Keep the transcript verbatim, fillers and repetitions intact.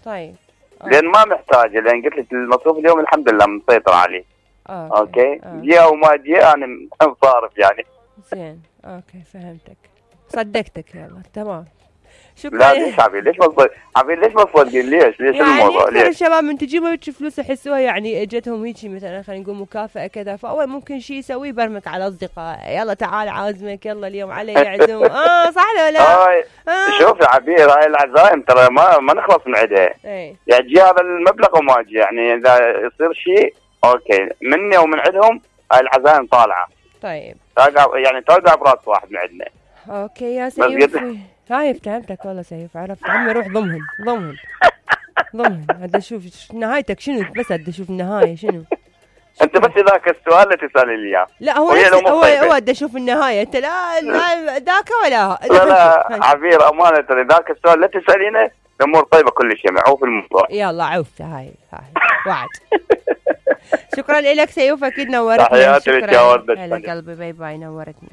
طيب. أوه. لان ما محتاجه، لان قلت لك المصروف اليوم الحمد لله مسيطر عليه. اوكي, أوكي. أوكي. جي او ما جي انا صارف يعني. زين اوكي فهمتك، صدقتك. يلا تمام. شكرا. لا ليش عبيد ليش مصدق عبيد ليش مصدقين ليش ليش يعني الموضوع أكثر ليش؟ الشباب من تجيبهم هيك فلوس يحسوها يعني اجتهم هيك مثلا خلينا نقول مكافأة كذا، فاول ممكن شيء يسويه يبرمك على اصدقاء، يلا تعال عازمك، يلا اليوم علي يعزم. اه صح ولا لا؟ آه. شوف يا عبيد هاي العزايم ترى ما ما نخلص من عندها. اي يعني تجي هذا المبلغ وما اجي، يعني اذا يصير شيء اوكي مني ومن عندهم هاي العزايم طالعه. طيب توقع يعني توقع براس واحد من عندنا. اوكي يا سيف. هاي فهمتك والله سيف، عرفت عمي روح ضمهن ضمهن ضمهن. هذا شوف نهايتك شنو، بس هذا شوف النهايه شنو. انت بس ذاك السؤال اللي تسالي لي اياه. لا هو هو هو بدي اشوف النهايه، انت لا لا ذاك ولا لا لا عبير امانه ترى ذاك السؤال لا تسالينه، الامور طيبه كل شيء معوف الموضوع. يلا عوفت هاي هاي وعد. شكرا لك سيوف، اكيد نورتنا. تحياتي لك يا وردة هلا قلبي، باي باي، نورتنا.